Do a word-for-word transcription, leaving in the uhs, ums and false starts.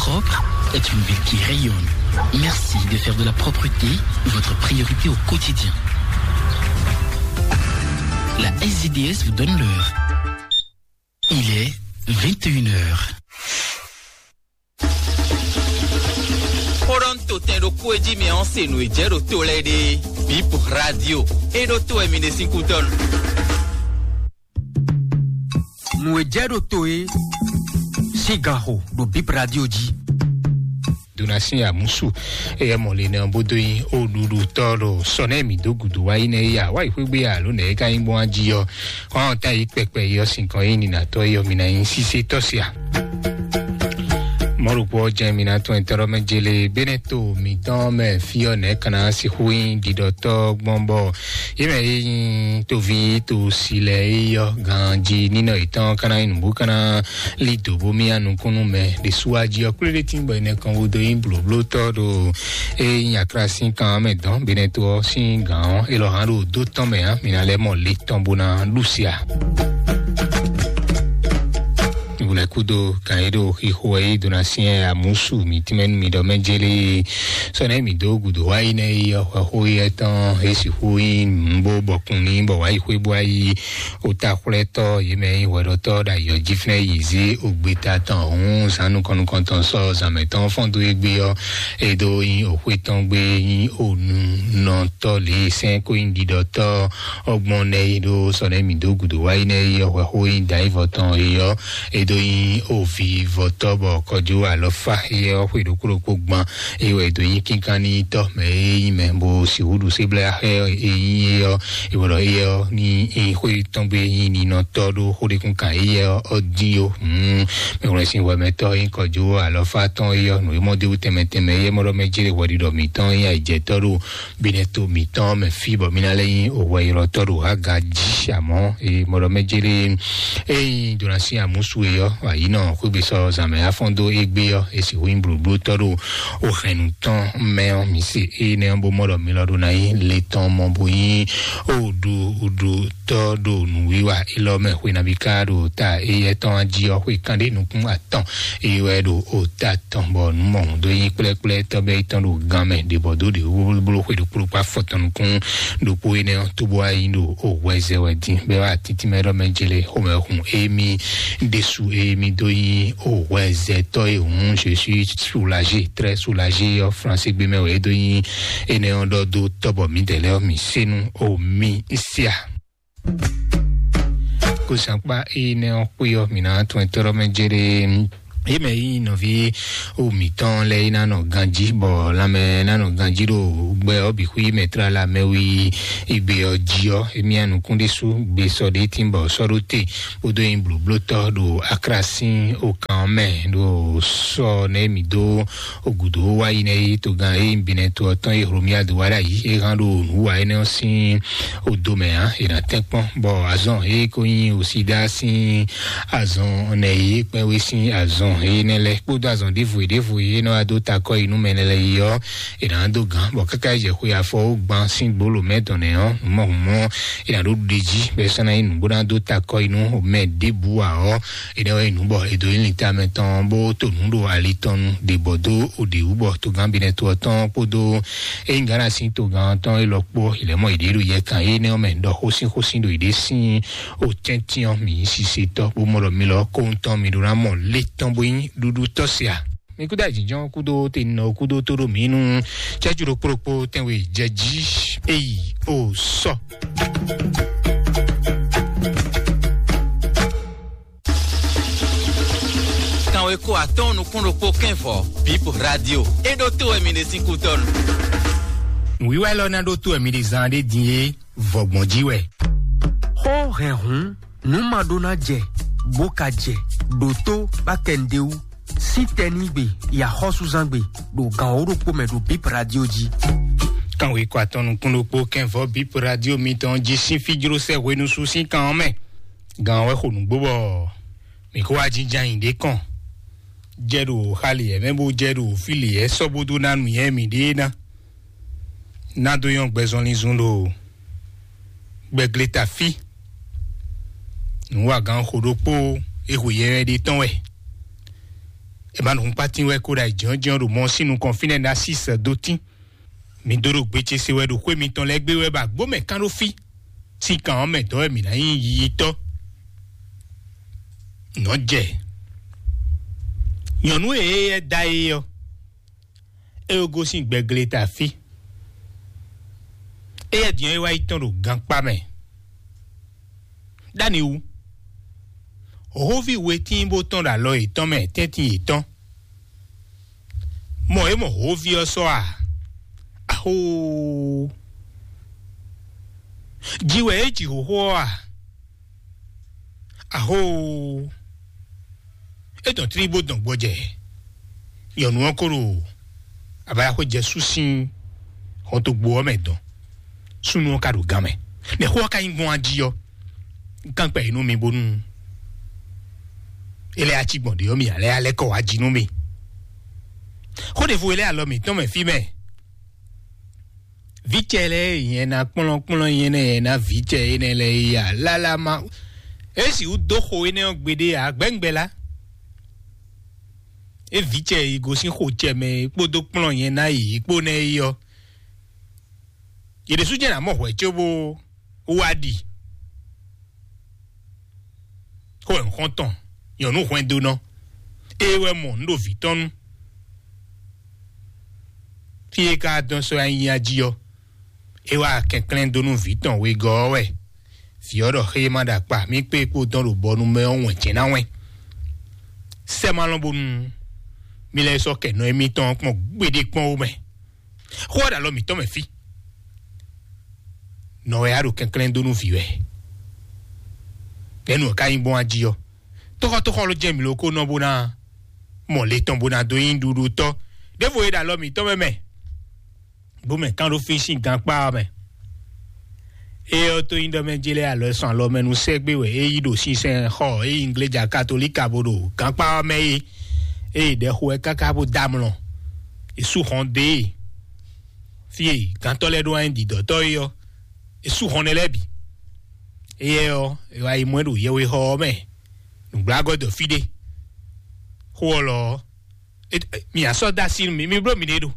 Propre est une ville qui rayonne. Merci de faire de la propreté votre priorité au quotidien. La S D D S vous donne l'heure. Il est vingt et une heures. Xó ɖɔ nú totɛn ɖokpó e jí mɛ ɔ́ se nǔ e jɛ ɖo to lɛ́ɛ ɖe. Bip Radio. E ɖó to wɛ mi ɖe sín kútɔ́ nu. Nǔ e jɛ ɖo to é sín ganxo ɖo Bip Radio jí. Donasi amusu, eyɛ mɔ le nɛ bó dó nyi o ɖuɖu tɔ ɖo sɔ nɛ mi dó gudu wá yi nɛ ya wá yi xwégbe alo nɛ ka nyi gbɔn aji yɔ kɔn ta yi kpɛkpɛ yɔ sin kɔn yi nina tɔ yɔ mi na nyi sise tɔ sia. Mɔɖokpɔ jɛ mi na tɔn tɔrɔ mɛ jele bene to mi tɔn mɛ fi ɔ nɛ kana si hu yi didɔ tɔ gbɔn bɔ ye mɛ yi nyi tovi to si lɛ yi yɔ ganji ninɔ yi tɔn kana yi nubu kana li do bo mi anukunu mɛ ɖe su aji ɔ kple ɖe tin bɔ yi nɛ kɔn wo do yi bloblo tɔ ɖo e nyi akra sin kan mɛ dɔn bene to ɔ sin gan ɔ elɔ hã ɖo do tɔn mɛ hã mi na lɛ mɔ li tɔn bo na ɖu sia. Wulɛ kudo kan yi ɖo xixo yi dona siɛ amusu mi tɛmɛ nu mi ɖɔ mɛ jeli sɔnɛ mi do gudo wa yi nɛ yi ɔxɔ xo yi ɛtɔn esi xo yi nbo bɔkun ni bɔ wa yi xwe bɔ ayi ota xwlɛtɔ yi mɛ yi hwɛɖɔtɔ ɖa yɔ jifnɛ yi zi ogbeta tɔn hun zan nukɔnukɔntɔn sɔ zanmɛ tɔn fɔn do egbe ɔ edo yi oxwe tɔn gbe yi onu nɔtɔ le sɛn ko yi ɖiɖɔtɔ ɔgbɔn nɛ yi ɖo sɔnɛ mi do gudo wa yi nɛ yi ɔxɔ xo yi da yi vɔ tɔn yi ɔ edo yi ovi vɔtɔ bɔ kɔjo alɔfa yi ɔ xwe ɖokpo ɖokpo gban yi wɔ edo yi kinkan ni tɔ mɛ yi mɛ bo si wuɖu se bla xɛ yi yi ɔ yi wɔ yi ɔ ni yi xwe tɔn gbe yi ni nɔ tɔ ɖo xo ɖe kun kan yi ɔ ɔ di o. Hmm. Mɛ wlɛ sin wɛmɛtɔ yi kɔjo alɔfa tɔn yi ɔ nǔ yi mɔ de wú tɛmɛ tɛmɛ yi mɔ ɖɔ mɛ jere hwɛɖiɖɔ mitɔn yi ayijɛtɔ ɖo binɛ to mitɔn mɛ fi bɔ mi na lɛ nyi owɛ ylɔtɔ ɖo aga jí amɔ e mɔɖɔ mɛ jere eyi dona si amusu e yɔ ayi nɔ xwegbe sɔ zanmɛ afɔn do egbe yɔ esi hu nyi blublu tɔ ɖo ohɛnnu tɔn mɛ ɔ mi se eye nɛ ɔ bo mɔɖɔ mi lɔ ɖo na yi le tɔn mɔ bo nyi oɖu oɖu tɔ ɖo nǔwiwa elɔ mɛ xwe nabi ka ɖo ta eyɛ tɔn jí ɔ xwe kan ɖe nukun atɔn eye wɛ ɖo ota tɔn bɔ nǔ mɔhun dó nyi kplɛ́kplɛ́ tɔ́gbɛ́ yětɔn ɖo gan mɛ ɖě bɔ dó ɖě wúblúblú xwe ɖokpó ɖokpó afɔ tɔn nukún ɖokpó énɛ́ ɔ́ tó bó wá yi ɖo owɛzɛ wɛ dín bɔ é wá títí mɛ ɖɔ mɛ jele xomɛ hun émi ɖésú émi dó nyi owɛzɛtɔ́ e hǔn je suis soulagé très soulagé ɔ́ fransé gbé mɛ wɛ é dó nyi énɛ́ ɔ́ ɖɔ dó tɔ́bɔ mǐdɛɛ lɛ́ɛ ɔ́ mǐ sé nú omi sia. Kó sankpa énɛ́ ɔ́ xwé ɔ́ mǐ ná tún ɛ tɔ́ɖɔ́ mɛ jɛɖɛɛ. Yě mɛ yí nɔví wo mǐtɔn lɛ́ɛ yí ná nɔ ganjí bɔ lanmɛ ná nɔ ganjí ɖo gbɛ ɔ́ bǐ xwí mɛ tlala mɛ wí igbe ɔ́ jí ɔ́, émí anukún ɖésú gbe sɔ ɖě tín bɔ sɔ́ ɖó te kpódó nyi blǒblótɔ́ ɖo aklásin okan ɔ́ mɛ ɖo sɔ nɛ́ mǐ dó gǔdo wá yi nɛ́ yí togán e nyí binɛ to ɔ́ tɔn e Hlomyadu wá ɖ'ayǐ é hán ɖo nǔ wa énɛ́ ɔ́ sín odo mɛ ǎ. È nǎ tɛ́nkpɔ́n bɔ azɔn e ko nyí osídá sín azɔn nɛ e kpɛ́wé sín azɔn énɛ́ lɛ́ɛ kpódó azɔn ɖěvo e ɖěvo e nɔ wá dó ta akɔ yi nú mɛ lɛ́ɛ yi ɔ́, è nǎ dó gǎn bɔ káká yi jɛ xwe afɔ ó gban sín gbolo mɛ dɔn nɛ ɔ́, nǔ mɔ hǔn mɔ è nǎ ɖó ɖuɖe jí bɔ é sɔ́ ná nyí nǔ bó ná dó ta akɔ yi nú mɛ ɖěbǔ ǎ ɔ́, énɛ́ wɛ nyí nǔ bɔ è dǒ nyi linta mɛ tɔn bó to nǔ ɖo ali tɔn nu ɖě bɔ dó oɖě wú bɔ togán binɛ to ɔ́ tɔn kpódó ényí Gana sín togán tɔn élɔ́ kpó ìlẹ́mọ̀ ìɖé ɖo yɛ kan énɛ́ ɔ́ mɛ ɖɔ xósín xósín ɖo ìɖé sín otɛ́ntin ɔ́ mǐ nyí sisetɔ́ bó mɔ ɖɔ mi lɔ kóhun tɔn mi ɖó ná mɔ lé tɔn bó nyí ɖuɖu tɔ́ se a? Mi kúdó àjínjɔ́n kúdó tɛnɔ kúdó tó ɖo mǐ nu cɛ́jú ɖokpó ɖokpó tɛnwe jɛ jí eyi o sɔ. Kanwe ko atɔn nukún ɖokpó kɛnvɔ bip radio e ɖó tó wɛ mi ɖe sín kútɔnu. Nǔwiwa élɔ́ ná ɖó tó wɛ mi ɖe zan ɖé din é vɔgbɔn jí wɛ. Xó hɛn hǔn nǔ ma ɖó ná jɛ bó ka jɛ ɖǒtó bá kɛ nɖé wú. Sín tɛnígbe yi axɔ́súzángbe ɖo gan wǒ ɖokpó mɛ ɖo bip radio jí. Kanwe ko atɔn nukún ɖokpó kɛnvɔ bip radio mitɔn jí sín fíjlósɛ hwenusu sín kan ɔ́ mɛ. Gan wɛ xo nǔgbó bɔ mǐ kó wá jínjɔ́n ayǐ ɖé kɔn jɛ ɖo xali yɛ mɛ bó jɛ ɖo fí lě yɛ sɔ́ bó dó ná nǔnywɛ́ mǐɖée ná. Ná dó nyɔ́ gbɛzɔnlin zun ɖo gbɛgleta fí. Nǔwagán xo ɖokpó e xwe yɛ wɛ ɖe tɔn wɛ. È ma nɔ hun kpátín wɛ kó ɖo ayǐjínjɔ́n ɖo mɔ sín nukɔn fínɛ́ ná sí sɛ dó tín. Mi dó ɖo gbe ce se wɛ ɖo xwé mitɔn lɛ́ɛ gbé wɛ ba gbó mɛ kán ɖó fí. Sín kan ɔ́ mɛ dɔ̌ wɛ mǐ ná nyí yiyitɔ́. Nɔ́ jɛ nyɔ̌nu e é da é ɔ́, é wɛ gosín gbɛgle ta fí. Éyɛ́ din ɔ́, é wá yi tɔ́n ɖo gankpá mɛ. Ɖ'ani wú, hǒví we tíin bó tɔ́n ɖo alɔ yětɔn mɛ tɛ́ntin yětɔn. Mɔ é mɔ hǒví ɔ́ sɔ́ a? Ahóoo! Ji wɛ é ji hǒxo ɔ́ a? Ahóoo! É dɔn tlí bó dɔn gbɔjɛ. Nyɔ̌nu ɔ́ ko ɖo abayaxwé jɛ sú sín hɔntogbo ɔ́ mɛ dɔn. Súnnu ɔ́ ka ɖo gán mɛ. Nɛ̌ xó ɔ́ ka nyí gbɔn ají ɔ́? Gán kpɛ yě nú mi bónú é lɛ́ ací gbɔn ɖě ɔ́, mi ǎ lɛ́ alɛ́ kɔ wá jí nú mi. Xó ɖěvo e lɛ́ alɔ mǐtɔn mɛ fí mɛ. Vǐ cɛ lɛ́ɛ nyɛ ná kplɔ́nkplɔ́n nyɛ nɛ́ ná vǐ cɛ énɛ́ lɛ́ɛ yi a? Lálá ma é sixú dó xo énɛ́ ɔ́ gbeɖé ǎ, gbɛ̌ngbɛ́ lá. É vǐ cɛ yi gosín xo cɛ mɛ kpódó kplɔ́n nyɛ ná yě kpó nɛ́ yi ɔ́, yě ɖésú jɛ́n ná mɔ hwɛ̌ cóbó wá ɖi. Xó wɛ un xɔ́n tɔn nyɔ̌nu hwɛndónɔ. Ée wɛ mɔ nǔ ɖo vǐ tɔn nu. Fí e ka dɔn sɔ́ nyi nya jí ɔ́, é wá kɛnklɛ́n dó nú vǐ tɔn wegɔ́ ɔ́ wɛ. Vǐ ɔ́ ɖɔ xé e ma ɖo akpa mì kpé kpó dɔn ɖo bɔnu mɛ ɔ́ wɛn jɛ̌n ná wɛn. Sɛ́ ma lɔn bónú mi lɛ́ sɔ́ kɛ nɔ émítɔn ɔ́ kpɔ́n gbéɖé kpɔ́n ó mɛ. Xó ɔ́ ɖo alɔ mǐtɔn mɛ fí. Nɔ wɛ á ɖo kɛnklɛ́n dó nú vǐ wɛ. Nɛ̌ nǔ ɔ́ ka nyí gbɔn ají ɔ́? Tóxɔ́tóxɔ́ ló jɛ mǐ ló kó nɔ bó ná mɔ le tɔn bó ná dó nyí ɖuɖutɔ́. Ɖěvo e ɖo alɔ mǐtɔn mɛ mɛ, bó mɛ kán ɖó fí sín gankpá ɔ́ mɛ. Ée ɔ́ tó nyí ɖɔ mɛ jí lɛ́ɛ alɔ sɔn alɔ mɛ nú sɛ́gbé wɛ é yí ɖo sinsɛn xɔ é yí ngléja katolíka bó ɖo gankpá ɔ́ mɛ é. Ée ɖɛxo wɛ káká bó dó amlɔ. È sú hɔn dó e fí e gantɔ́ lɛ́ɛ ɖó wá nyí ɖiɖɔtɔ́ é ɔ́, è sú hɔn nɛ́ lɛ́ɛ bǐ. Éyɛ́ ɔ́, è wá yi mɔ ɛ ɖo yɛwexɔ ɔ́ mɛ, nǔgblágɔ́ dɔ fí ɖé. Xó ɔ́ lɔ ɔ́, mi ǎ sɔ́ dó así nú mi, mi bló miɖée ɖo.